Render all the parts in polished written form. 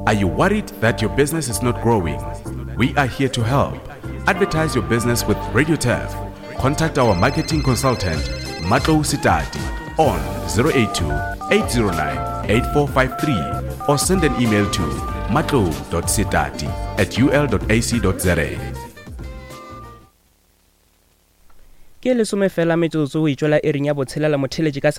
Are you worried that your business is not growing? We are here to help. Advertise your business with Radio Turf. Contact our marketing consultant, Matlo Sitati, on 082 809 8453 or send an email to matlo.sitati at ul.ac.za. Ke lesome fela metsotso go itšwela iring ya botshelela motheletši ka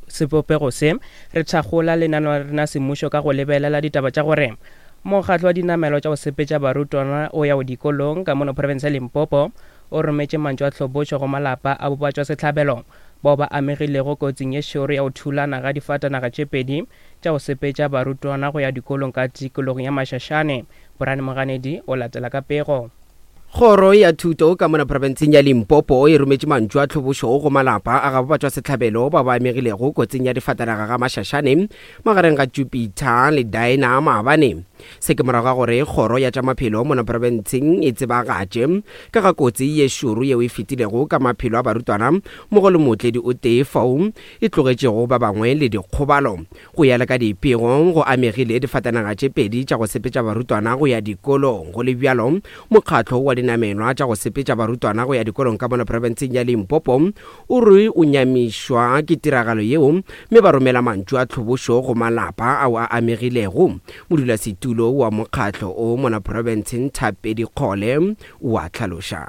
sebopego se. Re thakgola lenaneo la rena semmušo ka go lebelela ditaba tša gore mokgatlo wa dinamelwa tša go sepetša barutwana o yago dikolong ka mono profense ya Limpopo o rometše mantšu a tlhobošo go malapa a bobatšwasehlabelo bao ba amegilego kotsing ye šoro ya go thulana ga difatanaga tše pedi tša go sepetša barutwana go ya dikolong ka tikologong ya Mashashane. Brian Moganedi o latela ka pego. Kgoro ya Thuto ka mona profenseng ya Limpopo e rometše mantšu a tlhobošo go malapa a gabo batšwasehlabelo bao ba amegilego kotsing ya difatanaga ga Mashashane magareng ga Jupiter le Dinah maabane. Se ke morago ga gore kgoro ya tša maphelo mona profenseng e tsebagatše ka ga kotsi ye šoro yeo e fetilego ka maphelo a barutwana mmogo le mootledi o tee fao e tlogetšego ba bangwe le dikgobalo. Go ya le ka dipego, go amegile difatanaga tše pedi tša go sepetša barutwana go ya dikolong. Go le bjalo, mokgatlo wa dinamelwa tša go sepetša barutwana go ya dikolong ka mono profenseng ya Limpopo o re o nyamišwa ke tiragalo yeo mme ba romela mantšu a tlhobošo go malapa ao a amegilego. Modulasetulo wa mokgatlo o mona profenseng Thapedi Kgole o a hlaloša.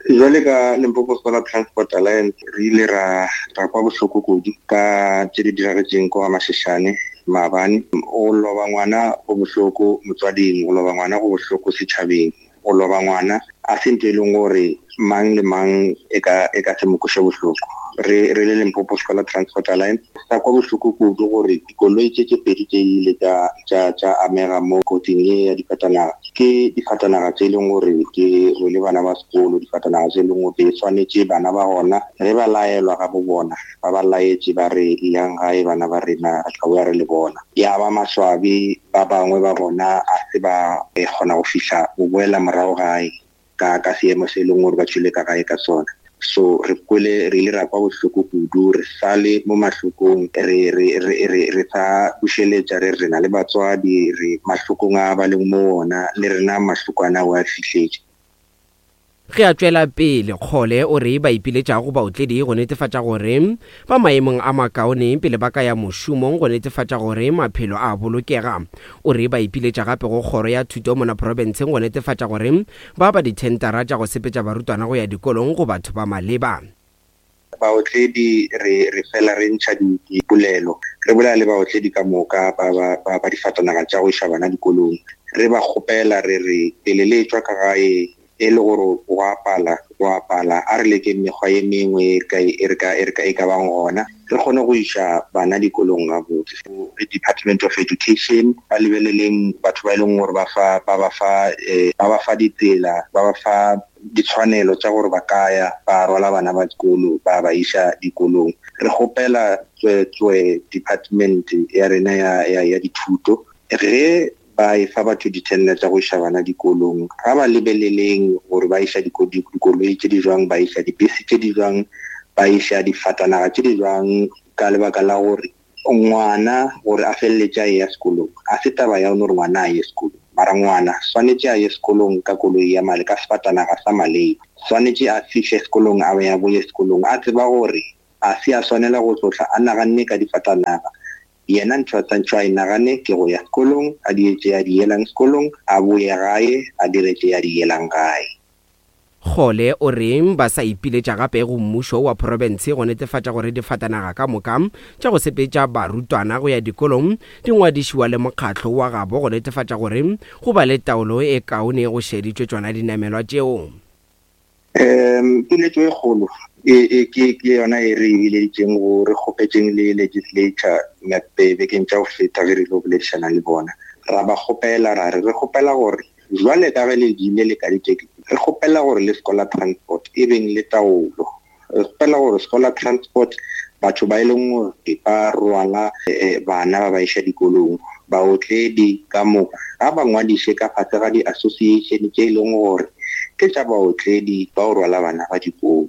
Jwale ka Limpopo Scholar Transport Alliance re ile ra ra kwa bohloko kudu ka tše di diragetšeng kwa Masheshane maabane. Go loba ngwana go bohloko motswading, go loba ngwana go bohloko setšhabeng. Go loba ngwana a se ntho e leng gore mang le mang e ka e ka se mo kweše bohloko. Re re le Limpopo Scholar Transport Alliance sa kwa bohloko kudu gore dikoloi tše tše pedi tše ile tša tša tša amega mo kotsing ye ya difatanaga. Ke difatanaga tše e leng gore di rwele bana ba sekolo, difatanaga tše e leng gore di swanetše bana ba gona ge ba laelwa ga bo bona, ba ba laetše ba re eyang gae bana ba rena re tla boya re le bona. Ya ba maswabi ba bangwe ba bona a se ba kgona go fihla go boela morago gae. ka ka seemo se e leng gore ba tšwele ka gae ka sona. So re kwele, re ile ra kwa bohloko kudu, re sa le mo mahlokong, re re re re re sa bušeletša re re na le batswadi, re mahlokong a ba leng mo ona, le rena mahloko ana o a fihletše. Ge a tšwela pele, Kgole o re ba ipiletša go baotledi go netefatša gore ba maemong a makaone pele ba ka ya mošomong go netefatša gore maphelo a bolokega. O re ba ipiletša gape go kgoro ya thuto mona profenseng go netefatša gore ba aba dithentara tša go sepetša barutwana go ya dikolong go batho ba maleba. Baotledi re re fela re ntšha dipolelo, re bolela le baotledi ka moka ba ba ba ba difatanaga tša go iša bana dikolong, re ba kgopela re re pele le etšwa ka gae E le gore go a pala, go a pala. A re lekeng mekgwa ye mengwe e ka, e re ka, e re ka, e ka bang gona, re kgone go iša bana dikolong gabotse. Department of Education, ba lebeleleng batho ba e leng gore ba fa, ba ba fa, ba ba fa ditsela, ba ba fa ditshwanelo tša gore ba ka ya ba rwala bana ba dikolo ba ba iša dikolong. Re kgopela tswetswe department ya rena ya, ya, ya dithuto ge ba efa batho ditender tša go iša bana dikolong, ga ba lebeleleng gore ba iša dikoloi tše di jwang, ba iša dibese tše di jwang, ba iša difatanaga tše di jwang, ka lebaka la gore ngwana gore a feleletše a eya sekolong a se taba ya gore ngwana a ye sekolong, mara ngwana swanetše a ye sekolong ka koloi ya male, ka sefatanaga sa maleba, swanetše a fihle sekolong a be a boye sekolong a tseba gore a se a swanela go tlohla a naganne ka difatanaga. Yena ntho a santšho a e nagane ke go ya sekolong, a die tše a di yelang sekolong, a boye gae, a dire tše a di yelang gae. Kgole o re ba sa ipiletša gape go mmušo wa phorobentshe go netefatša gore difatanaga ka moka tša go sepetša barutwana go ya dikolong di ngwadišiwa le mokgatlo wa gabo go netefatša gore go ba le taolo e kaone go šeditšwe tšona dinamelwa tšeo. Um Keletšo e kgolo e, e, ke, ke yona e re e bileditšeng go re kgopetšeng le legislature bekeng tša go feta ge re ile go boledišana le bona. Ra ba kgopela ra re re kgopela gore jwale ka ge le bile le ka ditekisi, re kgopela gore le scholar transport e beng le taolo. Re kgopela gore scholar transport batho ba e leng gore ba rwala bana ba ba iša dikolong, baotledi ka moka ga ba ngwadiše ka fase ga di-association tše e leng gore ke tša baotledi ba go rwala bana ba dikolo.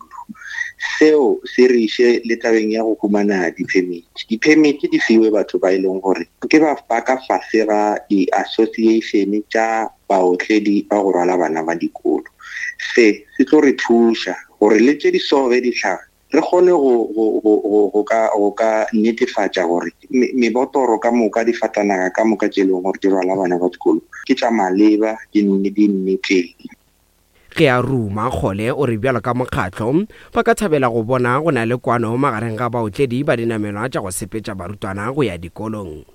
Seo se re iše le tabeng ya go humana di-permit. Di-permit di fiwe batho ba e leng gore ke ba ba ka fase ga di-association tša baotledi ba go rwala bana ba dikolo. Se se tlo re thuša gore le tše di so ge di hlaga re kgone go, go, go, go, go ka, go ka netefatša gore me, mebotoro ka moka, difatanaga ka moka tše e leng gore di rwala bana ba dikolo ke tša maleba, di, di nneteng. Ge a ruma, Kgole o re bjalo ka mokgatlo, ba ka thabela go bona go na le kwano magareng ga baotledi ba dinamelwa tša go sepetša barutwana go ya dikolong.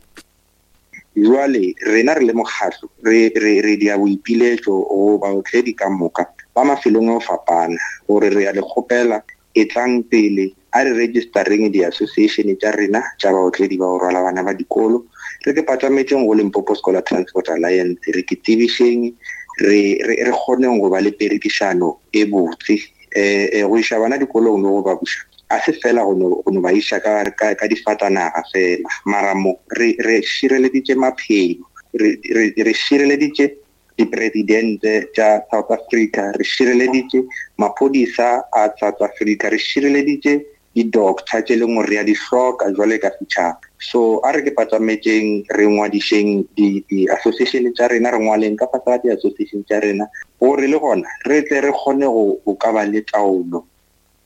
Bjale rena re le mokgatlo re, re, re dia boipiletšo go baotledi ka moka ba mafelong a go fapana gore re a le kgopela etlang pele a re registereng di-association tša rena tša baotledi ba go rwala bana ba dikolo, re ke patametšeng go Limpopo Scholar Transport Alliance, re ke tsebišeng, re, re, re kgoneng go ba le perekišano e botse. E, e, go iša bana dikolong le go ba buša a se fela go no, go no ba iša ka, ka, ka difatanaga fela, mara mo re, re šireleditše maphelo, re, re, re šireleditše dipresidente tša South Africa, re šireleditše maphodisa a South Africa, re šireleditše di-doctor tše leng gore re a di hloka jwale ka setšhaba. So a re ke patametšeng re ngwadišeng di-association tša rena, re ngwaleng ka fase ga di-association tša rena gore le gona re tle re kgone go ka ba le taolo.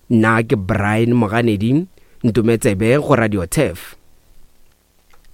Nna ke Brian Moganedi, Ntometsebe go Radio Turf.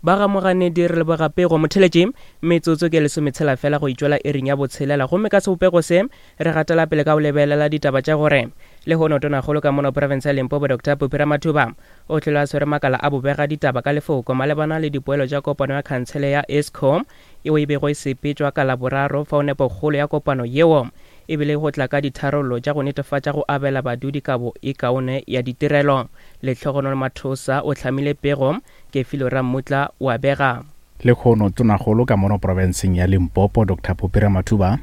Ba ga Moganedi re leboga pego. Motheletši, metsotso ke lesometshela fela go itšwela iring ya botshelela gomme ka sebopego se re gatela pele ka go lebelela ditaba tša gore lehono Tonakgolo ka mono profense ya Limpopo Doctor Phophi Ramathuba o hlwele a swere makala a bobega ditaba ka lefoko malebana le dipoelo tša kopano ya khansele ya Eskom yeo e bego e sepetšwa ka Laboraro fao nepokgolo ya kopano yeo e bile go tla ka ditharollo tša go netefatša go abela badudi kabo e kaone ya ditirelo. Lehlogonolo Mathosa o hlamile pego Kefilo Rammutla o a bega. Lehono, Tonakgolo ka mono profenseng ya Limpopo, Doctor Phophi Ramathuba,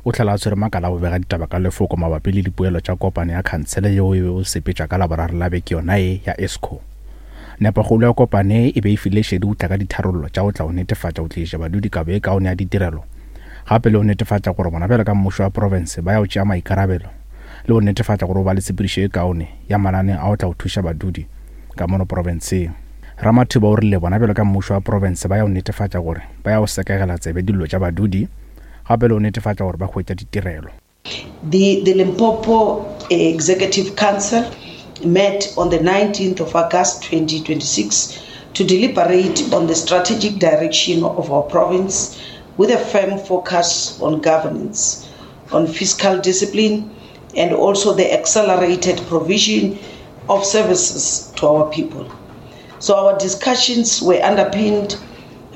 o hlola a tshwere makala a go bega ditaba ka lefoko mabapi le dipoelo tša kopano ya khansele yeo e bego e sepetšwa ka Laboraro la beke yona ye ya Esco. Nepokgolo ya kopano ye e be e file šedi go tla ka ditharollo tša go tla go netefatša go tlišetša badudi kabo ye kaone ya ditirelo gape le go netefatša gore bona bjalo ka mmušo wa profense ba ya go tšea maikarabelo le go netefatša gore go ba le tshepedišo ye kaone ya mananeo a go tla go thuša badudi ka mono profenseng. Ramathuba o rile bona bjalo ka mmušo wa profense ba ya go netefatša gore ba ya go sekegela tsebe dillo tša badudi gape le go netefatša gore ba hwetša ditirelo. The, the Limpopo Executive Council met on the 19th of August 2026 to deliberate on the strategic direction of our province with a firm focus on governance, on fiscal discipline, and also the accelerated provision of services to our people. So our discussions were underpinned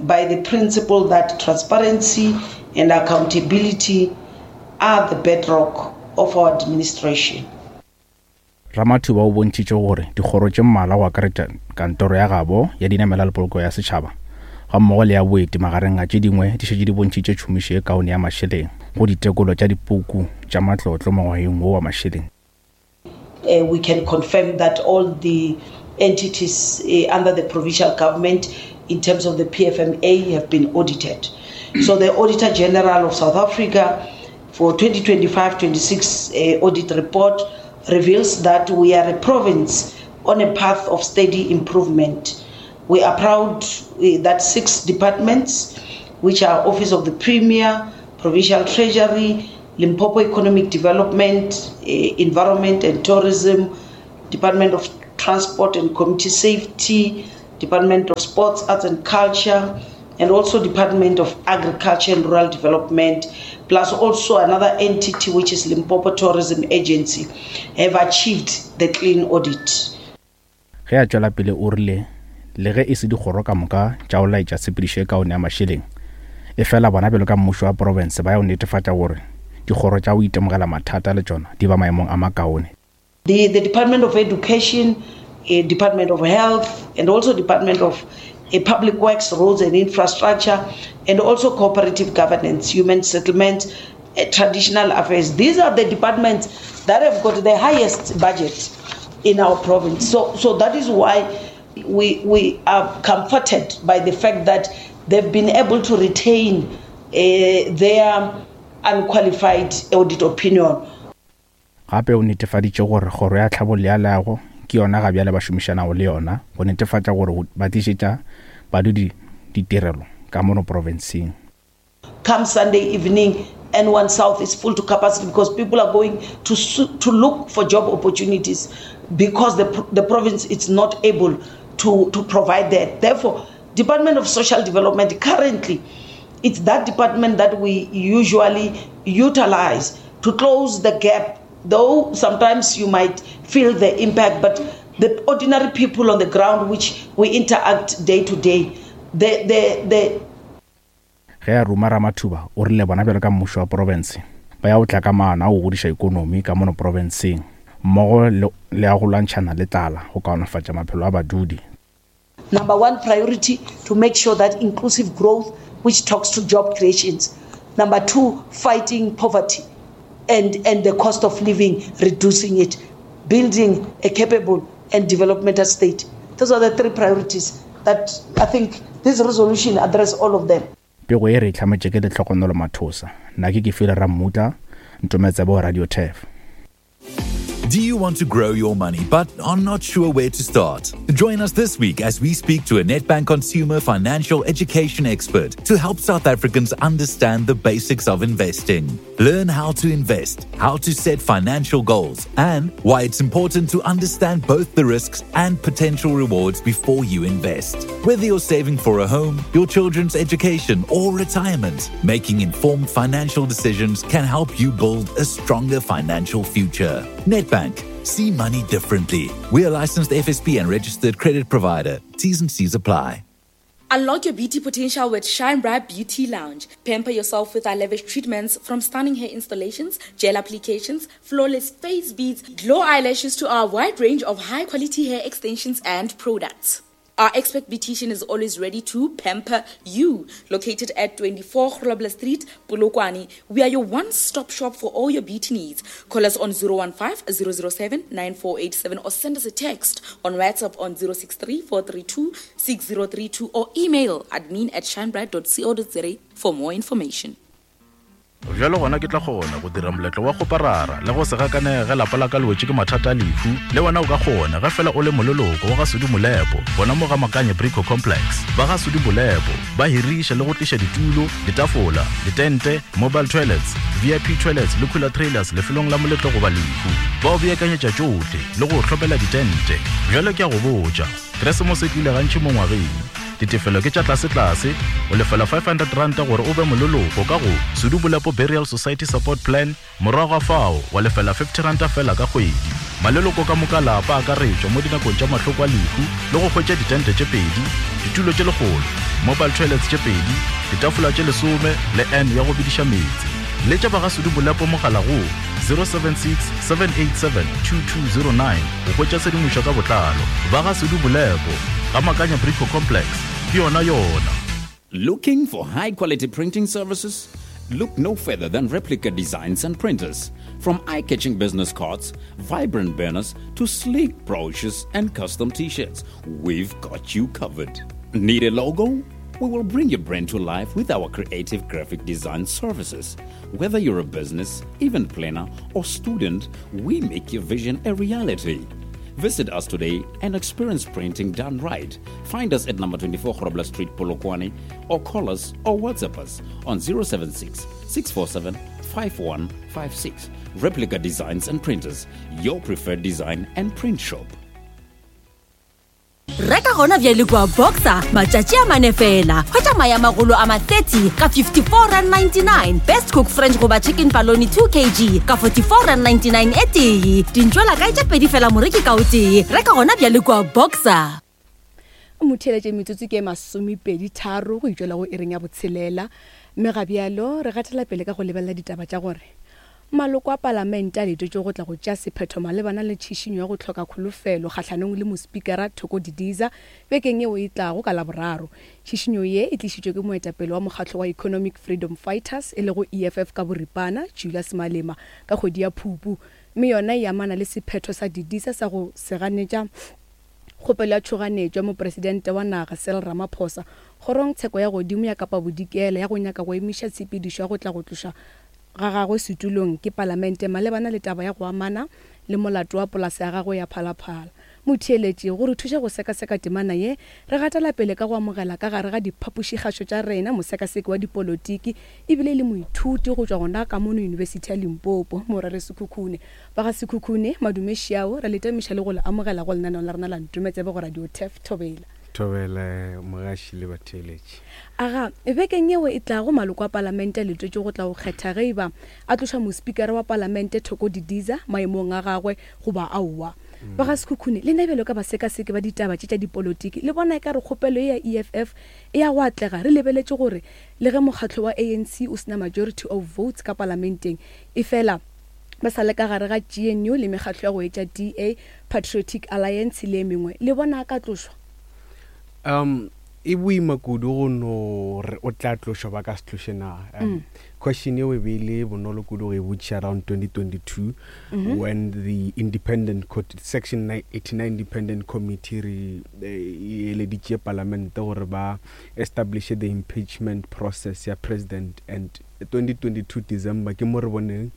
by the principle that transparency and accountability are the bedrock of our administration. Ramathuba o bontšhitše gore dikgoro tše mmalwa go akaretša kantoro ya gabo ya dinamela le poloko ya setšhaba gammogo le ya boeti magareng a tše dingwe di šetše di bontšhitše tšhomišo e kaone ya mašeleng go ditekolo tša dipuku tša matlotlo mongwageng wo wa mašeleng. Uh, we can confirm that all the entities uh, under the provincial government in terms of the PFMA have been audited. So the Auditor General of South Africa for 2025-26 uh, audit report reveals that we are a province on a path of steady improvement. We are proud uh, that six departments, which are Office of the Premier, Provincial Treasury, Limpopo Economic Development, eh, Environment and Tourism, Department of Transport and Community Safety, Department of Sports, Arts and Culture, and also Department of Agriculture and Rural Development, plus also another entity which is Limpopo Tourism Agency, have achieved the clean audit. Ge a tšwela pele o rile le ge e se dikgoro ka moka tša go laetša tshepedišo e kaone ya mašeleng, efela bona bjalo ka mmušo wa profense ba ya go netefatša gore dikgoro tša go itemogela mathata le tšona di ba maemong a makaone. The, the Department of Education, uh, Department of Health, and also Department of uh, Public Works, Roads and Infrastructure, and also Cooperative Governance, Human Settlement, uh, Traditional Affairs. These are the departments that have got the highest budget in our province. So, so that is why we, we are comforted by the fact that they've been able to retain uh, their unqualified audit opinion. Gape o netefaditše gore Kgoro ya Tlhabollo ya Leago ke yona ga bjale ba šomišanago le yona go netefatša gore ba tlišetša badudi ditirelo ka mono profenseng. Come Sunday evening, N1 South is full to capacity because people are going to, to look for job opportunities because the, the province is not able to, to provide that. Therefore, Department of Social Development currently, it's that department that we usually utilize to close the gap. Though sometimes you might feel the impact, but the ordinary people on the ground, which we interact day to day, they, they, they Ge a ruma Ramathuba o rile bona bjalo ka mmušo wa profense ba ya go tla ka maano a go godiša ikonomi ka mono profenseng mmogo le a go lwantšhana le tlala go kaonafatša maphelo a badudi. Number one priority to make sure that inclusive growth which talks to job creations. Number two, fighting poverty and, and the cost of living, reducing it, building a capable and developmental state. Those are the three priorities that I think this resolution address all of them. Pego ye re e hlametše ke Lehlogonolo Mathosa. Nna ke Kefile Rammutla, Ntometsebe wa Radio Turf. Do you want to grow your money but are not sure where to start? Join us this week as we speak to a Nedbank consumer financial education expert to help South Africans understand the basics of investing. Learn how to invest, how to set financial goals, and why it's important to understand both the risks and potential rewards before you invest. Whether you're saving for a home, your children's education, or retirement, making informed financial decisions can help you build a stronger financial future. Nedbank. See money differently. We are licensed FSP and registered credit provider. T's and C's apply. Unlock your beauty potential with Shine Bright Beauty Lounge. Pamper yourself with our lavish treatments from stunning hair installations, gel applications, flawless face beads, glow eyelashes to our wide range of high quality hair extensions and products. Our expert beautician is always ready to pamper you. Located at 24 Grobler Street, Polokwane, we are your one-stop shop for all your beauty needs. Call us on 015 007 9487 or send us a text on WhatsApp on 063 432 6032 or email admin at shinebright.co.za for more information. Bjalo gona ke tla kgona go dira moletlo wa kgoparara le go se gakanege ge lapa la ka le wetše ke mathata a lehu. Le wena o ka kgona ge fela o le moleloko wa ga Sudi Molepo gona mo ga Makanye Brico Complex. Ba ga Sudi Molepo ba hiriša le go tliša ditulo, ditafola, ditente, mobile toilets, VIP toilets le cooler trailers lefelong la moletlo goba lehu. Ba o beakanyetša tšohle le go o hlomela ditente. Bjalo ke a go botša, Keresemose e tlile gantši mo ngwageng. Ditefelo ke tša tlasetlase, o lefela R500 gore o be moleloko ka go Sudu Bolepo Burial Society Support Plan, morago ga fao wa lefela R50 feela ka kgwedi. Maleloko ka moka a lapa a akaretšwa mo dinakong tša mahloko a lehu le go hwetša ditente tše pedi, ditulo tše lekgolo, mobile toilets tše pedi, ditafola tše lesome le urn ya go bediša meetse. Letša ba ga Sudu Bolepo mogala go 076 787 2209 go hwetša tshedimošo ka botlalo. Ba ga Sudu Bolepo, ga Makanya Brico Complex, ke yona yona. Looking for high quality printing services? Look no further than Replica Designs and Printers. From eye catching business cards, vibrant banners, to sleek brochures and custom t shirts, we've got you covered. Need a logo? We will bring your brand to life with our creative graphic design services. Whether you're a business, event planner, or student, we make your vision a reality. Visit us today and experience printing done right. Find us at number 24 Grobler Street, Polokwane, or call us or WhatsApp us on 076 647 5156. Replica Designs and Printers, your preferred design and print shop. Reka gona bjale kua Boxer matšatši a mane fela. Hwetša mae a magolo a ma 30 ka R54.99, Best Cook French goba Chicken Paloni 2 kg ka R44.99 e tee. Dintšwela kae tše pedi fela moreki ka o tee. Reka gona bjale kua Boxer. Motheeletše metsotso ke e masomepedi tharo go itšwela go iring ya botshelela mme ga bjalo re gatela pele ka go lebelela ditaba tša gore Maloko a Palamente a letetšwe go tla go tšea sephetho malebana le tšhišinyo ya go hloka kholofelo kgahlanong le Mospikara Thoko Didiza bekeng yeo e tlago ka Laboraro. Tšhišinyo ye e tlišitšwe ke moetapele wa mokgatlo wa Economic Freedom Fighters e lego EFF ka boripana, Julius Malema ka kgwedi ya Phupu mme yona e amana le sephetho sa Didiza sa go se ganetša Kgopelo ya tšhoganetšo ya Mopresidente wa naga Cyril Ramaphosa kgorongtsheko ya godimo ya Kapa Bodikela ya go nyaka go emiša tshepedišo ya go tla go tloša. ga gagwe setulong ke Palamente malebana le taba ya go amana le molato wa polasa ya gagwe ya Phalaphala. Motheeletši, go re thuša go sekaseka temana ye, re gatela pele ka go amogela ka gare ga diphapošikgašo tša rena mosekaseki wa dipolotiki ebile e le moithuti go tšwa gona ka mono Yunibesithi ya Limpopo, Morare Sekhukhune. Ba ga Sekhukhune, madume šiao, re le tamiša le go le amogela go lenaneo la rena la Ntometsebe go Radio Turf Thobela. Thobela mogaši le batheeletši. Aga, bekeng yeo e tlago maloko a palamente a letetšwe go tla go kgetha ge e ba a tloša mospikara wa palamente Thoko Didiza maemong a gagwe goba aowa. Ba ga Sekhukhune, lena bjalo ka basekaseki ba ditaba tše tša dipolotiki, le bona ekare kgopelo ye ya EFF e ya go atlega re lebeletše gore le ge mokgatlo wa ANC o se na majority of votes ka palamenteng efela ba sa le ka gare ga GNU le mekgatlo ya go etša DA, Patriotic Alliance le e mengwe, le bona a ka tlošwa? Um e boima kudu go no re o tla tlošwa ba ka se tloše na. Um, Question yeo e be e le bonolo kudu go e botšiša around 2022 mm -hmm. when the independent court, section 89 independent committee re e eleditše palamente gore ba establish the impeachment process ya president and 2022 December ke mo re boneng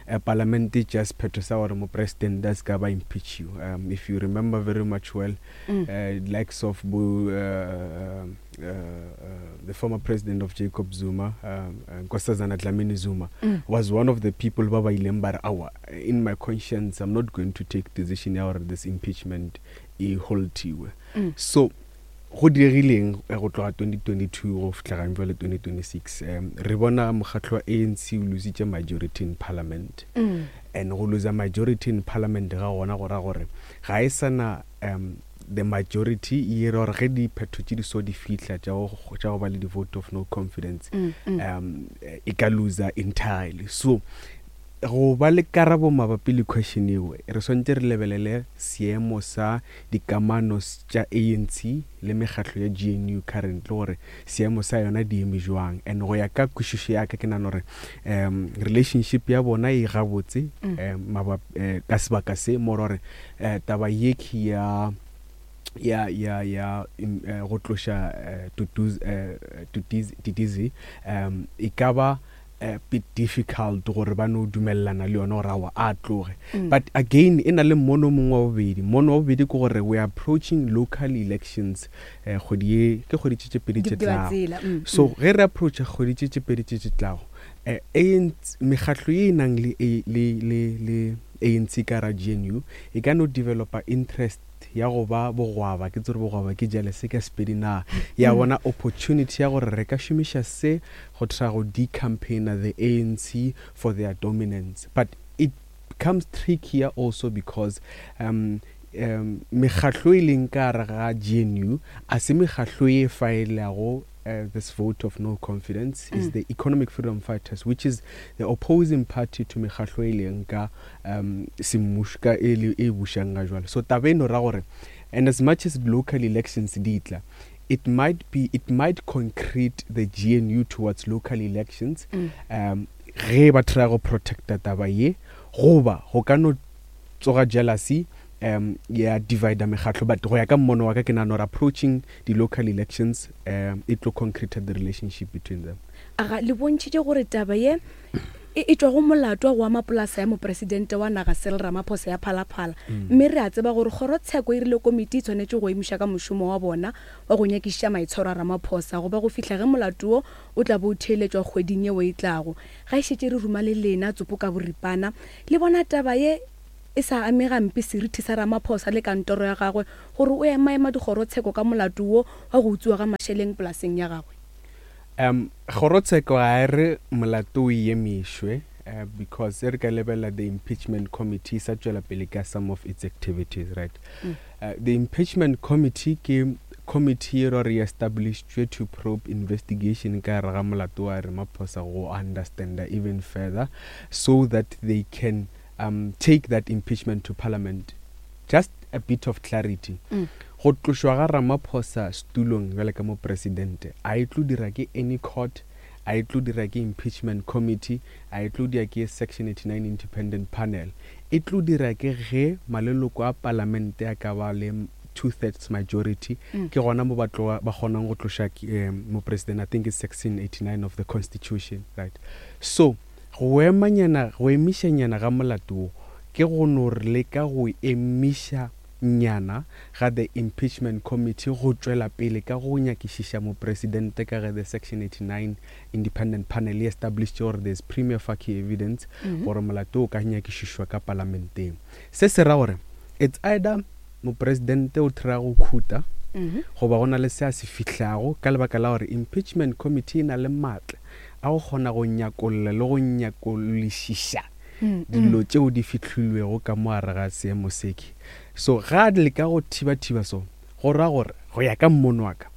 uh, palamente just phetho sa gore mopresident a se ka ba impeachiwa. Um, if you remember very much well mm. uh, likes of bo, uh, uh, uh, the former president of Jacob Zuma, um, uh, Nkosazana Dlamini Zuma, mm. was one of the people ba ba ileng ba re awa in my conscience I'm not going to take decision ya gore this impeachment e holtiwe. Mm. So go diregileng eh, go tloga 2022 go fihla gang jwale 2026 um re bona mokgatlo wa ANC o lositše majority in parliament mm. and go losa majority in parliament ga gona go ra gore ga e sana um the majority e ra gore ge diphetho tše di so di fihla tša go ba le di-vote of no confidence mm, mm. um e ka loser entirely so Go ba le karabo mabapi le question yeo, re swanetše re lebelele seemo sa dikamano tša ANC le mekgatlo ya GNU currently gore seemo sa yona di eme jwang. And go ya ka kwešišo ya ka ke nagana gore um relationship ya bona e gabotse um ka sebaka se mo gore um taba ye ke ya ya ya ya go tloša Tutuzi um e ka ba a bit difficult gore ba no dumelelana le yona gore awa a tloge mm. but again e na le mmono mongwe wa bobedi mmono wa bobedi ke gore we are approaching local elections eh, kgwedi ye ke kgwedi tše tše pedi tše tlago mm, so mm. ge re approacha kgwedi tše tše pedi tše tše tlago eh, mekgatlo ye e nang le, le, le, le ANC ka ra GNU e ka no developa interest ya go ba bogwaba, ke tsere bogwaba ke jealous ka Sepedi na, ya mm. bona opportunity ya gore re ka šomiša se go try go decampaigner the ANC for their dominance. But it becomes trickier also because um, um, mekgatlo e leng ka gare ga GNU a se mekgatlo e faelago uh, this vote of no confidence mm. is the Economic Freedom Fighters, which is the opposing party to mekgatlo e leng ka um semmušo ka e le e bušang ga jwale. So taba eno ra gore and as much as local elections di tla it might be it might concrete the GNU towards local elections mm. um ge ba try go protecta taba ye goba go ka no tsoga jealousy um ya divider mekgatlo but go ya ka mmono wa ka ke nagana gore approaching di-local elections um e tlo concrete the relationship between them. Aga le bontšhitše gore taba ye e e tšwa go molato wa go ama polasa ya mopresidente wa naga Cyril Ramaphosa ya Phalaphala mm. mme re a tseba gore kgorotsheko e rile komiti e tshwanetše go emiša ka mošomo wa bona wa go nyakišiša maitshwaro a Ramaphosa go ba go fihla ge molato wo o tla bo o theeletšwa kgweding yeo e tlago. Ga e šetše re ruma le lena tsopo ka boripana le bona taba ye e sa ame gampe seriti sa Ramaphosa le kantoro ya gagwe gore o emaema dikgorotsheko ka molato wo wa go utswiwa ga mašeleng polaseng ya gagwe. Um kgorotsheko ga e re molato o emišwe uh, because e re ka lebelela the impeachment committee sa tšwela pele ka some of its activities right mm. uh, the impeachment committee ke committee e re established to probe investigation ka gare ga molato wa Ramaphosa go understanda even further so that they can um, take that impeachment to parliament just a bit of clarity mm. go tlošwa ga Ramaphosa setulong bjale ka mopresidente a e tlo dira ke any court a e tlo dira ke impeachment committee a e tlo dira ke section 89 independent panel e tlo dira ke ge maleloko a palamente a ka ba le two thirds majority mm. ke gona mo ba tloga ba kgonang go tloša eh, mopresident i think it's section 89 of the constitution right so. Go emanyana, go emišanyana ga molato wo ke go no re leka go emiša nyana ga the Impeachment Committee go tšwela pele ka go nyakišiša mopresidente ka ge the Section 89 Independent Panel e establishtše gore there is prima facie evidence gore molato o ka nyakišišwa ka palamenteng. Se se ra gore it's either mopresidente o try go khuta goba go na le se a se fihlago ka lebaka la gore Impeachment Committee e na le maatla a go kgona go nyakolla le go nyakolišiša dilo tšeo di fihlilwego ka mo gare ga seemo seke. So ga a leka go thiba-thiba so, go ra gore go ya ka mmono wa ka,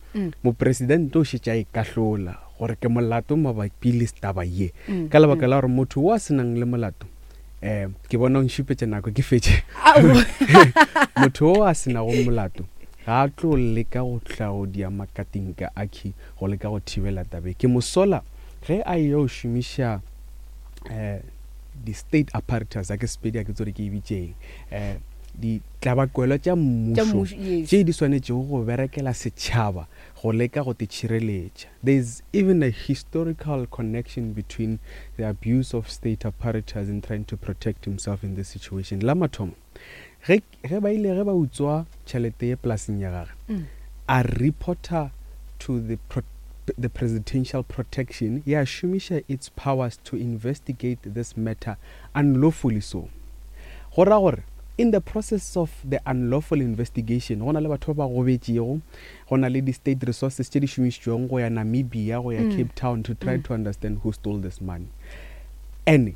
mopresidente o šetše a ikahlola gore ke molato mabapi le taba ye. Ka lebaka la gore motho o a se nang le molato, um ke bona o nšupetša nako ke fetše. Motho o a se nago molato ga a tlo leka go tla go dia makatinka akhi go leka go thibela taba e. Ke mosola ge a eya go šomiša um di-state apparatus, a ke Sepedi a ke tsore ke e bitšeng, um ditlabakwelo tša mmušo tše di swanetšego go berekela setšhaba go leka go titšhireletša. There is even a historical connection between the abuse of state apparatus in trying to protect himself in this situation. La mathomo, ge, ge ba ile ge ba utswa tšhelete ye polaseng ya gage, a reporter to the pro, the presidential protection ya šomiša its powers to investigate this matter unlawfully so. Go ra gore in the process of the unlawful investigation go na le batho ba ba gobetšego, go na le di-state resources tše di šomišitšwego go ya Namibia, go ya Cape Town to try to understand who stole this money. And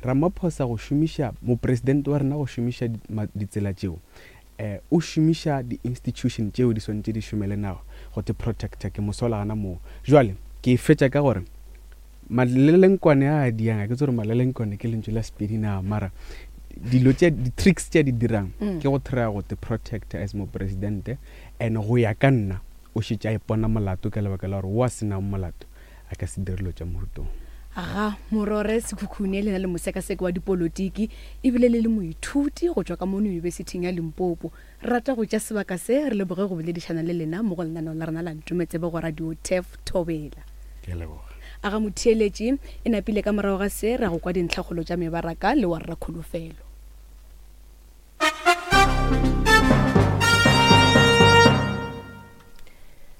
Ramaphosa go šomiša, mopresidente wa rena go šomiša ditsela tšeo, um o šomiša di-institution tšeo di swanetše di šomele naga go te protector. Ke mosola gana moo. Jwale ke e fetša ka gore malelenkwane a a diang, a ke tse gore malelenkwane ke lentšu la Sepedi na, mara dilo tše, di-tricks tše a di dirang ke go try go te protector as mopresidente. And go ya ka nna o šetše a ipona molato ka lebaka la gore wo a se nang molato a ka se dire dilo tša mohuta wo. Ga Morore Sekhukhune le na le mosekaseki wa dipolotiki ebile le le moithuti go tšwa ka mono Yunibesithing ya Limpopo. Re rata go tšea sebaka se re leboge go boledišana le lena mo go lenaneo la rena la Ntometsebe go Radio Turf Thobela. Ke a leboga. A ga motheeletši e napile ka morago ga se ra go kwa dintlhakgolo tša mebaraka le wa Rrakholofelo.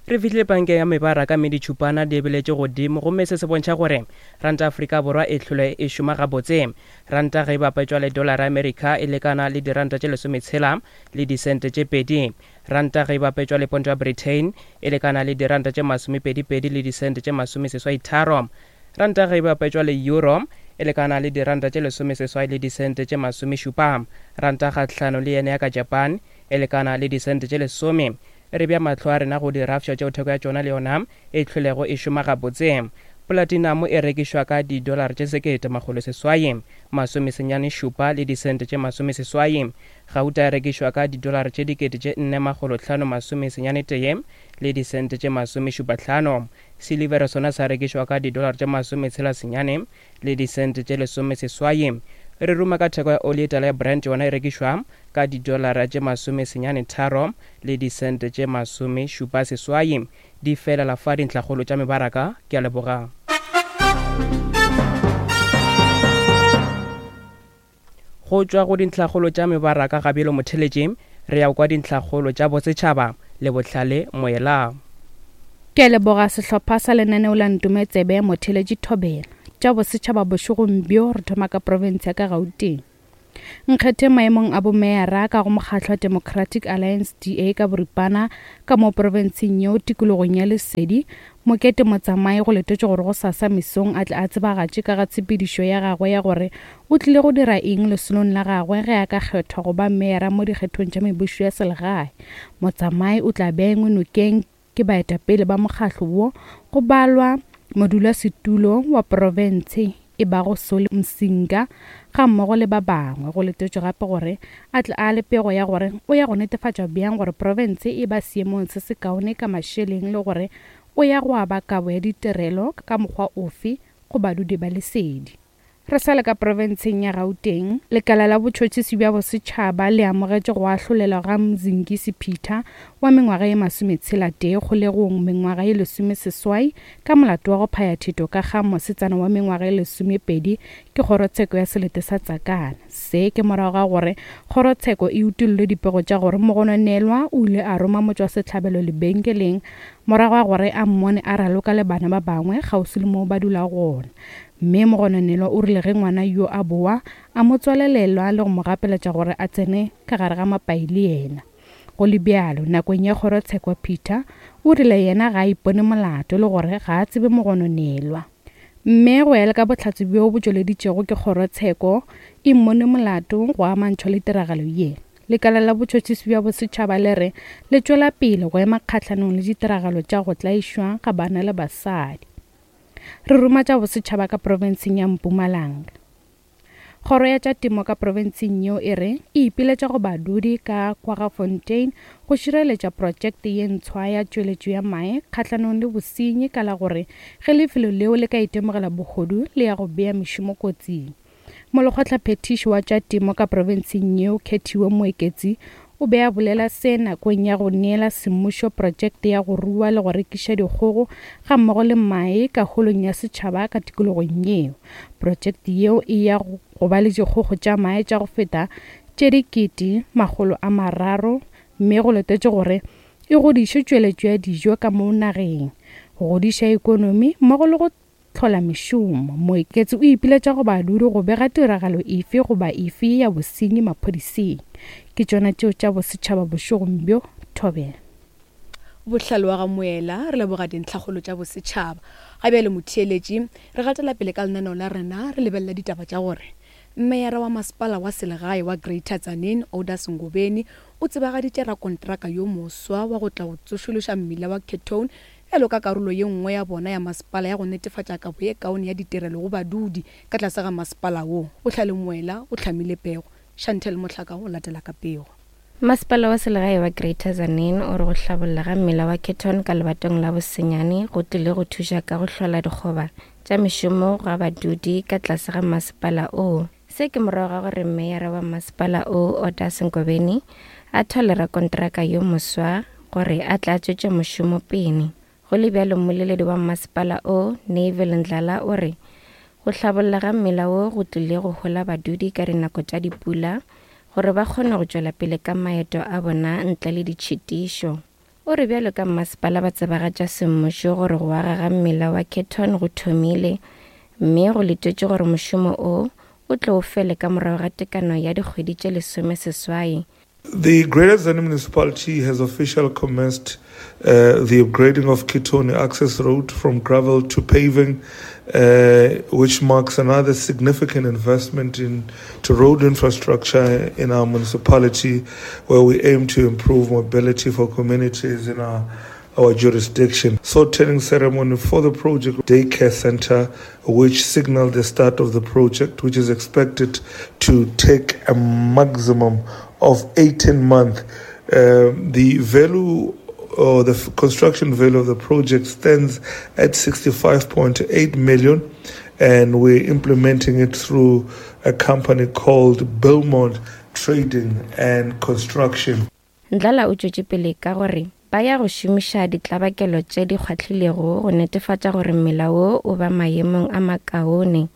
Re fihlile pankeng ya mebaraka mme ditšhupana di ebeletše godimo gomme se se bontšha gore ranta Afrika Borwa e hlole e šoma gabotse. Ranta ge e bapetšwa le dolara ya Amerika e lekana le diranta tše lesometshela le disente tše pedi. Ranta ge e bapetšwa le ponto ya Britain e lekana le diranta tše masomepedipedi le disente tše masomeseswaitharo. Ranta ge e bapetšwa le euro e lekana le diranta tše lesomeseswai le disente tše masomešupa. Ranta kgahlano le yene ya ka Japan e lekana le disente tše lesome. Re bea mahlo a rena go dirafša tšeo theko ya tšona le yona e hlwelego e šoma gabotse. Polatinamo e rekišwa ka didolara tše 1800 masomesenyane šupa le disente tše masomeseswai. Gauta e rekišwa ka didolara tše 4591 le disente tše masomešupahlano. Silivere sona sa rekišwa ka didolara tše masometshela-senyane le disente tše lesomeseswai. Re ruma ka theko ya oli e tala ya Brent yona e rekišwa ka didolara tše masomesenyane-tharo le disente tše masomešupa-seswai. Di felela fa dintlhakgolo tša mebaraka. Ke a leboga. Go tšwa go dintlhakgolo tša mebaraka ga bjalo motheletši, re ya kwa dintlhakgolo tša bosetšhaba le bohlale moela. Ke a leboga sehlopha sa lenaneo la Ntume Tsebe Motheletši Thobela. Tša bosetšhaba bošegong bjo re thoma ka profense ya ka Gauteng. Nkgethe maemong a bomeyara ka go mokgatlo wa Democratic Alliance DA ka boripana ka mo profenseng yeo tikologong ya Lesedi Mokete Motsamai go letetšwe gore gosasa mesong a tle a tsebagatše ka ga tshepedišo ya gagwe ya gore o tlile go dira eng lesolong la gagwe ge a ka kgethwa go ba meyara mo dikgethong tša mebušo ya selegae. Motsamai o tla be a engwe nokeng ke baetapele ba mokgahlo wo go balwa modulasetulo wa profense e bago Solly Msinga gammogo le ba bangwe. Go letetšwe gape gore a tle a le pego ya gore o ya go netefatša bjang gore profense e ba seemong se sekaone ka mašeleng le gore o ya go aba kabo ya ditirelo ka mokgwa ofe go badudi ba Lesedi. Re sa le ka profenseng ya Gauteng, lekala la botšhotšhisi bja bosetšhaba le amogetše go ahlolelwa ga Mzingisi Peter wa mengwaga ye masometshela-tee kgolegong mengwaga ye lesomeseswai ka molato wa go phaya theto ka ga mosetsana wa mengwaga ye lesomepedi ke kgorotsheko ya selete sa Tsakana. Se ke morago ga gore kgorotsheko e utolle dipego tša gore mogononelwa o ile a roma motšwasehlabelo lebenkeleng morago ga gore a mmone a raloka le bana ba bangwe kgauswi le moo ba dulago gona. Mme Mogononelwa o rile ge ngwana yo a boa, a mo tswalelelwa le go mo gapeletša gore a tsene ka gare ga mapai le yena. Go le bjalo, nakong ya kgorotsheko Peter o rile yena ga a ipone molato le gore ga a tsebe Mogononelwa. Mme go ya le ka bohlatse bjo bo tšweleditšego ke kgorotsheko, e mmone molato go amantšhwa le tiragalo ye. Lekala la Botšhotšhisi bja Bosetšhaba le re le tšwela pele go ema kgahlanong le ditiragalo tša go tlaišwa ga bana le basadi. Re ruma tša bosetšhaba ka profenseng ya Mpumalanga. Kgoro ya tša temo ka profenseng yeo e re e ipiletša go badudi ka Kwaggafontein go šireletša protšekte ye ntshwa ya tšweletšo ya mae kgahlanong le bosenyi ka la gore ge lefelo leo le ka itemogela bohodu le ya go bea mešomo kotsing. Molekgotlaphethiši wa tša temo ka profenseng yeo, Khethiwe Moeketsi, o be a bolela se nakong ya go neela semmušo protšekte ya go rua le go rekiša dikgogo gammogo le mae ka holong ya setšhaba ka tikologong yeo. Protšekte yeo e ya go ba le dikgogo tša mae tša go feta tše 300,000 mme go letetšwe gore e godiše tšweletšo ya dijo ka mo nageng, go godiša ekonomi mmogo le go hlola mešomo. Moeketsi o ipiletša go badudi go bega tiragalo efe goba efe ya bosenyi maphodiseng. Ke tšona tšeo tša bosetšhaba bošegong bjo. Thobela. Bohlale wa ga Moela, re leboga dintlhakgolo tša bosetšhaba. Ga bjale motheeletši, re gatela pele ka lenaneo la rena re lebelela ditaba tša gore Meyara wa Masepala wa Selegae wa Greater Tzaneen, Odas Ngobeni, o tsebagaditše rakontraka yo moswa wa go tla go tsošološa mmila wa Ketone Bjalo ka karolo ye nngwe ya bona ya masepala ya go netefatša kabo ye kaone ya ditirelo go badudi ka tlase ga masepala wo, Bohlale Moela o hlamile pego. Chantelle Mohlaka o latela ka pego. Masepala wa selegae wa Greater Tzaneen o re go hlabolla ga mmila wa Keton ka lebatong la bosenyane go tlile go thuša ka go hlola dikgoba tša mešomo ga badudi ka tlase ga masepala oo. Se ke morago ga gore meyara wa masepala o Otas Nkobeni a thwale rakontraka yo moswa gore a tla tšwetša mošomo pele. Go le bjalo mmoleledi wa masepala o Neville Ndlala o re go hlabolla ga mmila wo go tlile go hola badudi ka dinako tša dipula gore ba kgone go tšwela pele ka maeto a bona ntle le ditšhitišo. O re bjalo ka mmasepala ba tsebagatša semmušo gore go aga ga mmila wa Keton go thomile mme go letetšwe gore mošomo o o tle o fele ka morago ga tekano ya dikgwedi tše lesomeseswai. The Greater Tzaneen Municipality has officially commenced uh, the upgrading of Kitoni Access Road from gravel to paving, uh, which marks another significant investment in to road infrastructure in our municipality, where we aim to improve mobility for communities in our our jurisdiction. So turning ceremony for the project daycare center, which signaled the start of the project, which is expected to take a maximum of 18 months. Um, the value or the construction value of the project stands at 65.8 million and we're implementing it through a company called Belmont Trading and Construction. Ndlala o tšwetše pele ka gore ba ya go šomiša ditlabakelo tše di kgwahlilego go netefatša gore mmila wo o ba maemong a makaone.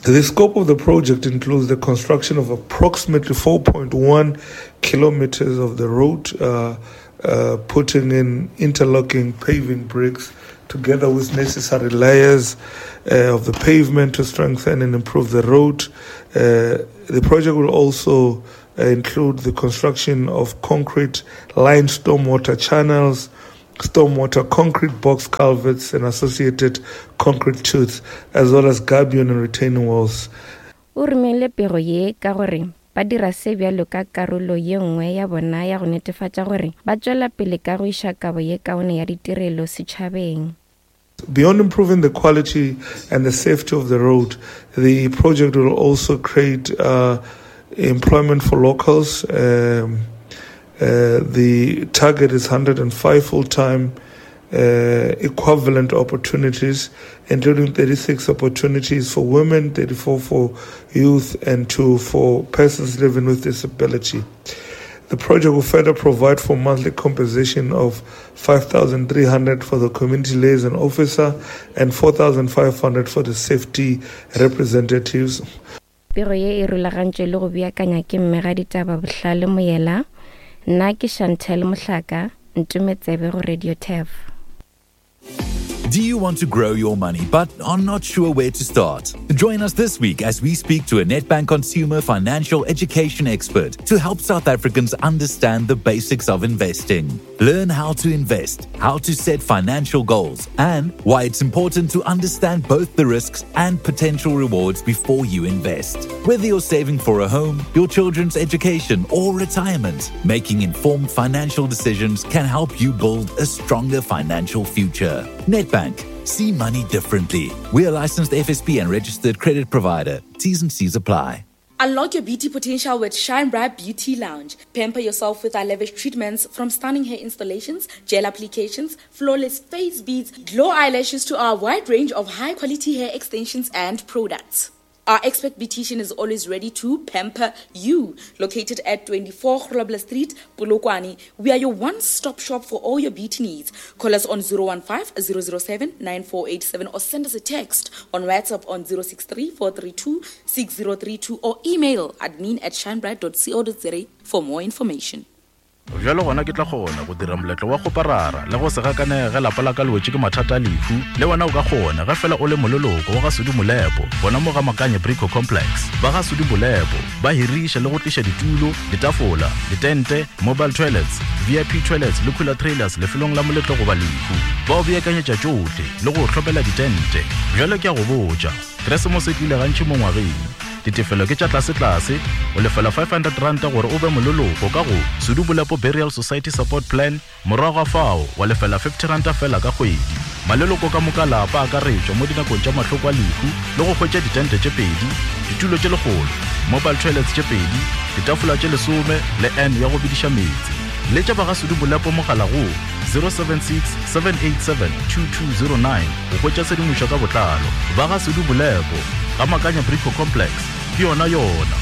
The scope of the project includes the construction of approximately 4.1 kilometers of the road, uh, uh, putting in interlocking paving bricks together with necessary layers uh, of the pavement to strengthen and improve the road. Uh, the project will also uh, include the construction of concrete lined stormwater channels, stormwater concrete box culverts and associated concrete tooths, as well as gabion and retaining walls. O romile pego ye ka gore ba dira se bjalo ka karolo ye nngwe ya bona ya go netefatša gore ba tšwela pele ka go iša kabo ye kaone ya ditirelo setšhabeng. Beyond improving the quality and the safety of the road, the project will also create uh, employment for locals. Um, uh, the target is 105 full time. uh, equivalent opportunities, including 36 opportunities for women, 34 for youth, and 2 for persons living with disability. The project will further provide for monthly compensation of 5,300 for the community liaison officer and 4,500 for the safety representatives. Pego ye e rulagantšwe le go beakanya ke mmegaditaba Bohlale Moyela. Nna ke Chantel Mohlaka, ntume tsebe go Radio Turf. Do you want to grow your money but are not sure where to start? Join us this week as we speak to a Nedbank consumer financial education expert to help South Africans understand the basics of investing. Learn how to invest, how to set financial goals, and why it's important to understand both the risks and potential rewards before you invest. Whether you're saving for a home, your children's education, or retirement, making informed financial decisions can help you build a stronger financial future. Nedbank. See money differently. We are licensed FSP and registered credit provider. T's and C's apply. Unlock your beauty potential with Shine Bright Beauty Lounge. Pamper yourself with our lavish treatments from stunning hair installations, gel applications, flawless face beads, glow eyelashes to our wide range of high quality hair extensions and products. Our expert beautician is always ready to pamper you. Located at 24 Grobler Street, Polokwane, we are your one-stop shop for all your beauty needs. Call us on 015 007 9487 or send us a text on WhatsApp on 063 432 6032 or email admin at shinebright.co.za for more information. Bjalo gona ke tla kgona go dira moletlo wa kgoparara le go se gakanege ge lapa la ka le wetše ke mathata a lehu. Le wena o ka kgona ge fela o le moleloko wa ga Sudi Molepo gona mo ga Makanye Brico Complex. Ba ga Sudi Molepo ba hiriša le go tliša ditulo, ditafola, ditente, mobile toilets, VIP toilets le cooler trailers lefelong la moletlo goba lehu. Ba o beakanyetša tšohle le go o hlopela ditente. Bjalo ke a go botša, Keresemose e tlile gantši mo ngwageng. Ditefelo ke tša tlasetlase, o lefela R500 gore o be moleloko ka go Sudu Bolepo Burial Society Support Plan, morago ga fao wa lefela R50 fela ka kgwedi. Maleloko ka moka lapa a akaretšwa mo dinakong tša mahloko a lehu le go hwetša ditente tše pedi, ditulo tše lekgolo, mobile toilets tše pedi, ditafola tše lesome le urn ya go bediša meetse. Letša ba ga Sudu Bolepo mogala go 076 787 2209 go hwetša tshedimošo ka botlalo. Ba ga Sudu Bolepo, ga Makanya Brico Complex, ke yona yona.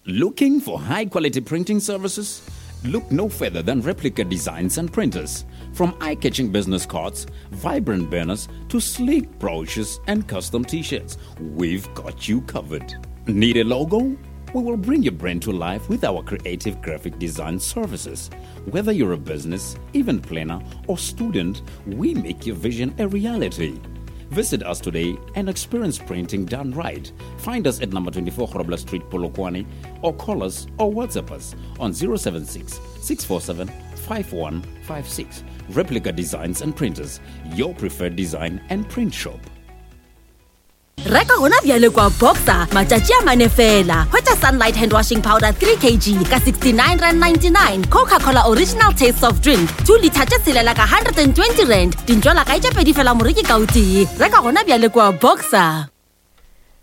Looking for high quality printing services? Look no further than Replica Designs and Printers. From eye catching business cards, vibrant banners, to sleek brochures and custom t shirts, we've got you covered. Need a logo? We will bring your brand to life with our creative graphic design services. Whether you're a business, event planner, or student, we make your vision a reality. Visit us today and experience printing done right. Find us at number 24 Grobler Street, Polokwane, or call us or WhatsApp us on 076 647 5156. Replica Designs and Printers, your preferred design and print shop. Reka gona bjale kwa Boxer matšatši a mane fela. Hwetša Sunlight hand washing powder 3 kg ka R69.99, Coca-Cola original taste soft drink 2 litre tše tshelela ka R120, dintšwala kae tše pedi fela moreki ka o tee. Reka gona bjale kwa Boxer.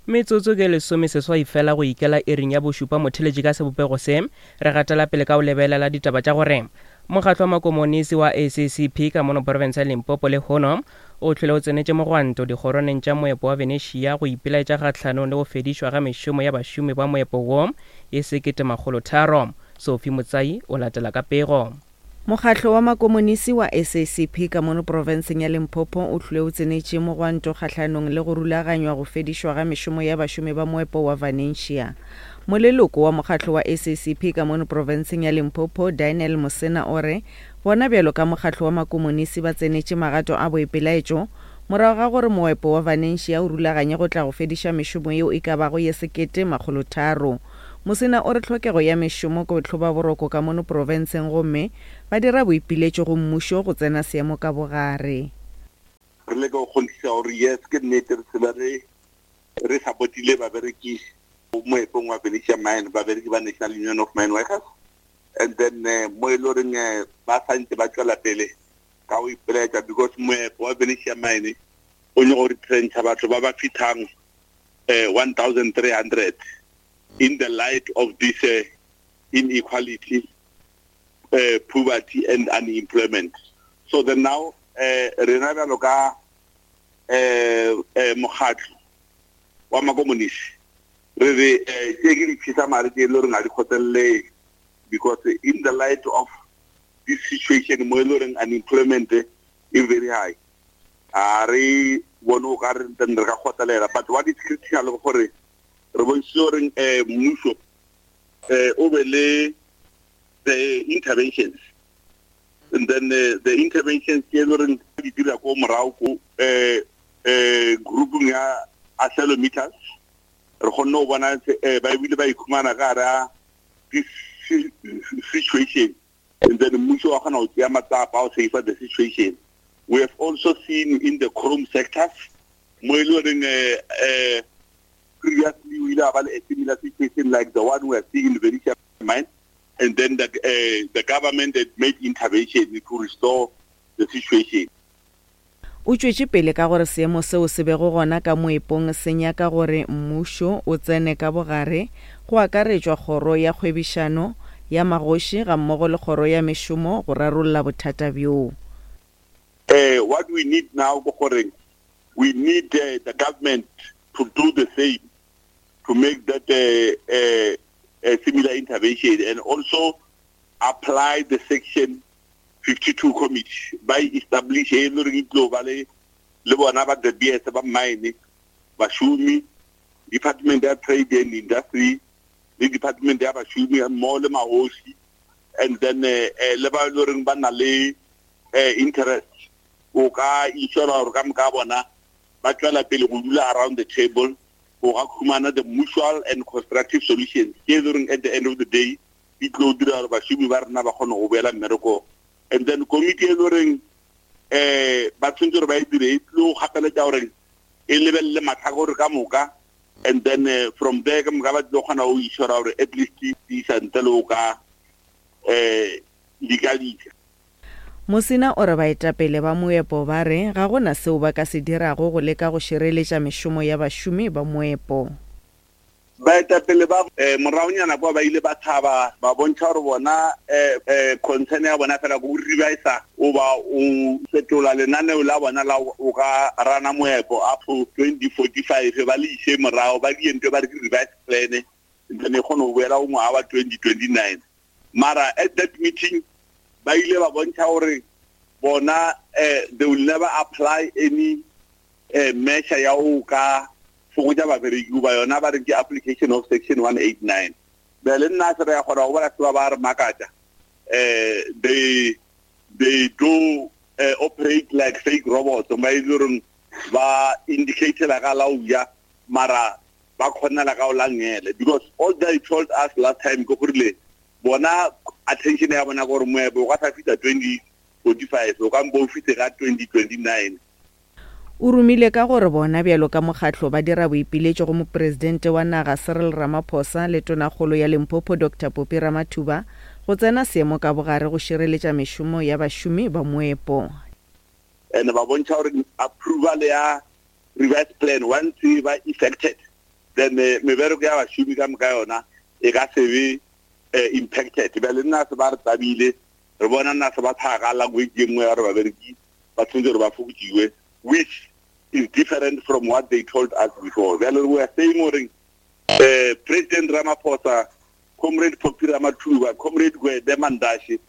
Metsotso ke lesomeseswai fela go ikela iring ya bošupa motheletši ka sebopego se re gatela pele ka go lebelela ditaba tša gore Mokgatlo wa Makomonisi wa ACCP ka mono profense ya Limpopo lehono o hlwele o tsenetše mogwanto dikgorwaneng tša moepo wa Venetia go ipelaetša kgahlanong le go fedišwa ga mešomo ya bašomi ba moepo wo ye 1300. Sophie Motsai o latela ka pego. Mokgatlo wa Makomonisi wa SACP ka mono profenseng ya Limpopo o hlwele o tsenetše mogwanto kgahlanong le go rulaganywa go fedišwa ga mešomo ya bašomi ba moepo wa Venetia. Moleloko wa mokgatlo wa SACP ka mono profenseng ya Limpopo, Daniel Mosena o re bona bjalo ka mokgatlo wa makomonisi ba tsenetše magato a boipelaetšo morago ga gore moepo wa Vanencia o rulaganye go tla go fediša mešomo yeo e ka bago ye 1300. Mosena o re tlhokego ya mešomo ke bohlobaboroko ka mono profenseng gomme ba dira boipiletšo go mmušo go tsena seemo ka bogare. Re leka go kgonthiša gore yes ke nnete re tshela re Re sapotile babereki moepong wa Venetia Mine, babereki ba National Union of Mine Workers, and then eh, mo e le goreng eh, ba santse ba tswela pele ka go ipelaetsa because moepo wa Venetia Mine o nyaka go retrencha batho ba ba fithang eh, 1300 in the light of this uh, inequality, uh, poverty and unemployment. So then now eh rena bjalo ka eh eh mokgatlo wa makomonisi re re eh tše ke ditšhisamare tše e le goreng ga di kgotlelelege because in the light of this situation mo e le goreng unemployment e very high a re bone o ka re then re ka kgotlelela but what is critical ke gore re bontšhitse gore um mmuso um o be le the interventions and then uh, the interventions ke e le goreng di dira ko morago ko um um grouping ya accelerometers re kgonne go bona eh, ba ebile ba ikhumana ka gare a this situation and then mmuso wa kgona go tšea matsapa a go safer the situation we have also seen in the chrome sectors mo e le goreng eh, eh, previously we ile a ba le a similar situation like the one we are seeing in Venetia mine and then the, uh, the government had made intervention to restore the situation O tšwetše pele ka gore seemo seo se bego gona ka moepong se nyaka gore mmušo o tsene ka bogare, go akaretšwa Kgoro ya Kgwebišano, ya Magoši gammogo le Kgoro ya Mešomo go rarolla bothata bjoo. What we need now ke gore we need the government to do the same to make that similar intervention and also apply the section 52 committee ba e establish e le gore e tlo ba le le bona ba the beers ba mine bašomi department ya trade and industry le department ya bašomi mmogo le magoši and then eh, eh, le ba e le goreng ba na le eh, interest o ka insura gore ka moka bona ba tswela pele go dula around the table go ga khumana the mutual and constructive solutions ke e le goreng at the end of the day di tlo dira gore bašomi ba rena ba kgone go boela mmereko and then komiti e le goreng um ba tshwanetse gore ba e dire e tlo gapeletša gore e lebelele matlhakore ka moka and then uh, from there ka moka ba tlo kgona go išora gore at least e isa ntle le o ka um dikadika Mosina o re baetapele ba moepo ba re ga go na seo ba ka se dirago go leka go šireletša mešomo ya bašomi ba moepo. Baetapele ba moragonyana kwa ba ile ba thaba ba bontšha gore bona concern ya bona fela ke go revisa goba o fetola lenaneo la bona la o ka rana moepo up to 2045 ba le ise morago ba die ntho ba re ke revised plan then e kgone go boela go ngwaga wa 2029 mara at that meeting ba ile ba bontšha gore bona they will never apply any measure ya go ka fokotša babereki goba yona ba re ke application of section 189 bjale nna se re ya kgona go bona se ba ba re makatša eh they they do uh, operate like fake robots ba e le ba indicatela ka la uya mara ba kgonela ka o langele because all they told us last time ke gore bona attention ya bona gore moepo o ka sa fita 2045 o ka mpo o fite ka 2029 O rumile ka gore bona bjalo ka mokgatlo ba dira boipiletšo go Mopresidente wa naga Cyril Ramaphosa le Tonakgolo ya Limpopo Doctor Phophi Ramathuba go tsena seemo ka bogare go šireletša mešomo ya bašomi ba moepo. And ba bontšha gore approval ya revised plan once e ba effected then mebereko ya bašomi ka moka yona e ka se be impacted. Bjale nna se ba re tabile re bona nna se ba tlhaga language e nngwe ya gore babereki ba tshwanetse gore ba fokodiwe which is different from what they told us before. Bjale we are saying gore eh, President Ramaphosa, Comrade Phophi Ramathuba, Comrade Gwede Mantashe,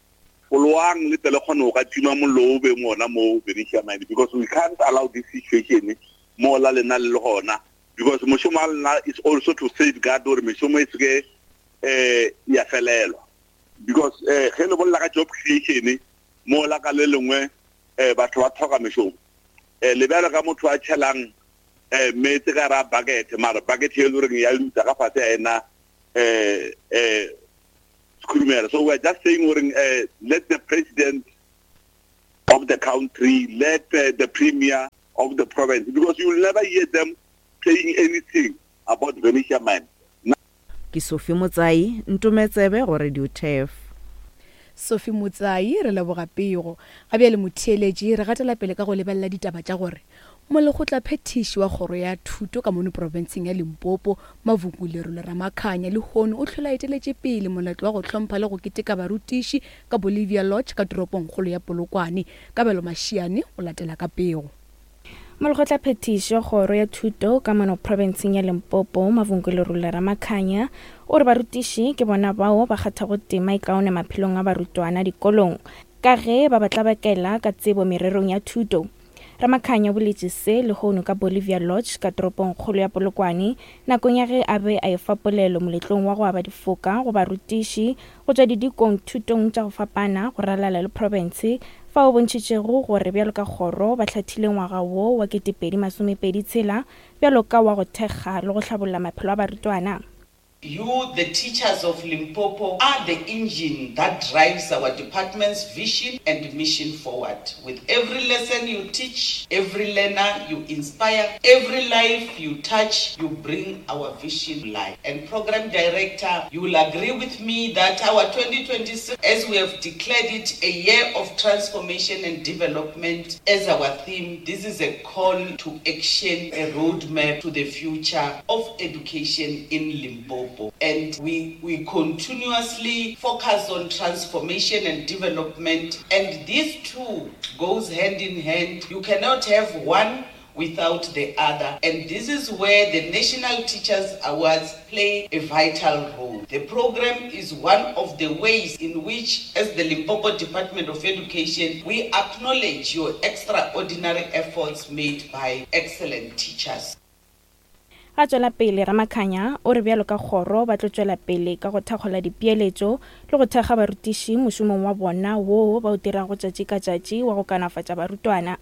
foloang le tle le kgone go ka tima mollo o beng ona mo Venetia mine because we can't allow this situation mo la lena le le gona because mošomo wa lena is also to safeguard gore mešomo e seke eh ya felelwa because eh ge le bolela ka job creation mo la ka le lengwe eh batho ba tlhoka mešomo eh le bjalo ka motho a tšhelang eh meetse ka ra bucket mara bucket e le goreng ya lutsa ka fase ya ena eh eh sekhurumela so we are just saying gore eh let the president of the country let uh, the premier of the province because you will never hear them saying anything about Venetia mine Ke Sophie Motsai, Ntometsebe go Radio Turf. Sophie Motsai, re leboga pego. Ga bjale motheeletši, re gatela pele ka go lebelela ditaba tša gore. Molekgotlaphethiši wa kgoro ya thuto ka mono profenseng ya Limpopo, Mavhungu Lerole Ramakhanya, lehono o hlola a eteletše pele moletlo wa go hlompha le go keteka barutiši ka Bolivia Lodge ka toropongkgolo ya Polokwane. Kabelo Mashiane o latela ka pego. Molekgotlaphethiši wa kgoro ya thuto ka mono profenseng ya Limpopo, Mavhungu Lerole Ramakhanya, o re barutiši ke bona bao ba kgathago tema e kaone maphelong a barutwana dikolong ka ge ba ba tlabakela ka tsebo mererong ya thuto. Ramakhanya o boletše se lehono ka Bolivia Lodge ka toropongkgolo ya Polokwane nakong ya ge a be a efa polelo moletlong wa go aba difoka go barutiši go tšwa didikong thutong tša go fapana go ralala le profense fao o bontšhitšego gore bjalo ka kgoro ba hlathile ngwaga wo wa 2026 bjalo ka wa go thekga le go hlabolla maphelo a barutwana. You, the teachers of Limpopo, are the engine that drives our department's vision and mission forward. With every lesson you teach, every learner you inspire, every life you touch, you bring our vision to life. And Program Director, you will agree with me that our 2026, as we have declared it a year of transformation and development as our theme, this is a call to action, a roadmap to the future of education in Limpopo. And we, we continuously focus on transformation and development. And these two goes hand in hand. You cannot have one without the other. And this is where the National Teachers Awards play a vital role. The program is one of the ways in which, as the Limpopo Department of Education, we acknowledge your extraordinary efforts made by excellent teachers. Ga tšwela pele Ramakhanya o re bjalo ka kgoro ba tlo tšwela pele ka go thakgola dipeeletšo le go thekga barutiši mošomong wa bona woo ba o dirago tšatši ka tšatši wa go kaonafatša barutwana.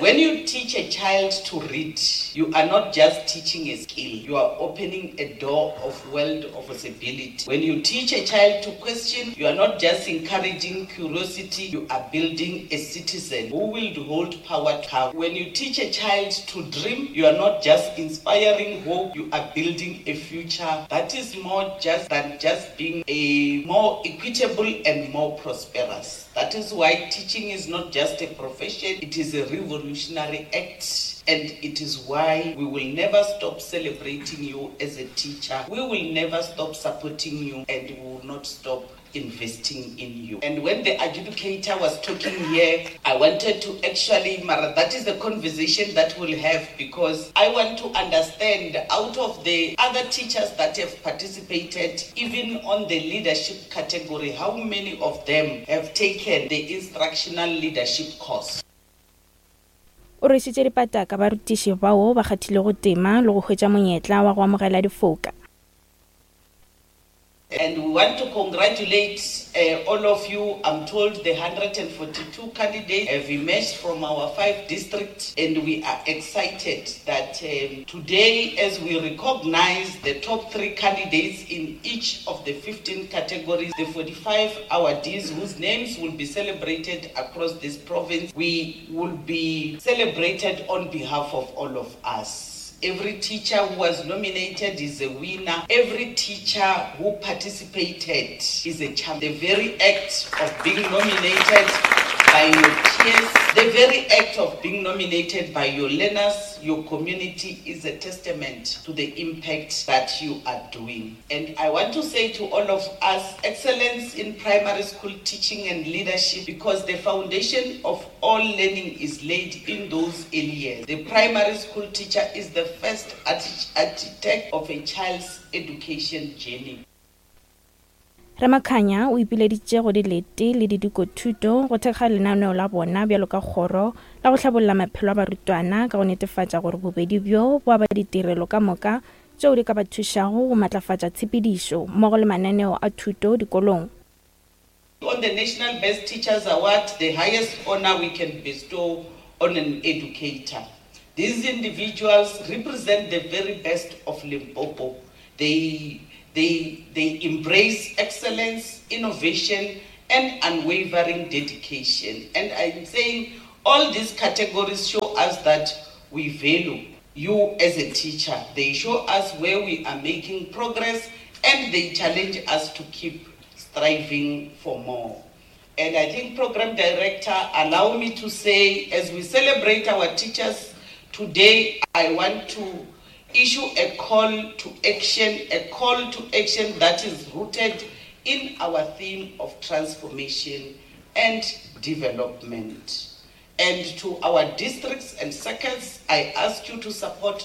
When you teach a child to read, you are not just teaching a skill, you are opening a door of world of possibility. When you teach a child to question, you are not just encouraging curiosity, you are building a citizen who will hold power to power. When you teach a child to dream, you are not just inspiring hope, you are building a future that is more just than just being a more equitable and more prosperous. That is why teaching is not just a profession, it is a revolutionary act. And it is why we will never stop celebrating you as a teacher. We will never stop supporting you and we will not stop investing in you. And when the adjudicator was talking here, I wanted to actually, Mara, that is the conversation that we'll have because I want to understand out of the other teachers that have participated, even on the leadership category, how many of them have taken the instructional leadership course? O rwešitše dipataka barutiši bao ba kgathilego tema le go hwetša monyetla wa go amogela difoka. And we want to congratulate uh, all of you. I'm told the 142 candidates have emerged from our five districts, and we are excited that um, today, as we recognize the top three candidates in each of the 15 categories, the 45 awardees whose names will be celebrated across this province, we will be celebrated on behalf of all of us. Every teacher who was nominated is a winner. Every teacher who participated is a champion. The very act of being nominated by your peers, the very act of being nominated by your learners, your community is a testament to the impact that you are doing. And I want to say to all of us, excellence in primary school teaching and leadership, because the foundation of all learning is laid in those early years. The primary school teacher is the first architect of a child's education journey. Ramakhanya o ipileditše go dilete le didikothuto go thekga lenaneo la bona bjalo ka kgoro la go hlabolla maphelo a barutwana ka go netefatša gore bobedi bjo bo aba ditirelo ka moka tšeo di ka ba thušago go matlafatša tshepedišo mmogo le mananeo a thuto dikolong. On the National Best Teachers Award, the highest honor we can bestow on an educator. These individuals represent the very best of Limpopo. They, they, they embrace excellence, innovation, and unwavering dedication. And I'm saying all these categories show us that we value you as a teacher. They show us where we are making progress and they challenge us to keep striving for more. And I think, Program Director, allow me to say, as we celebrate our teachers today, I want to issue a call to action, a call to action that is rooted in our theme of transformation and development. And to our districts and circuits, I ask you to support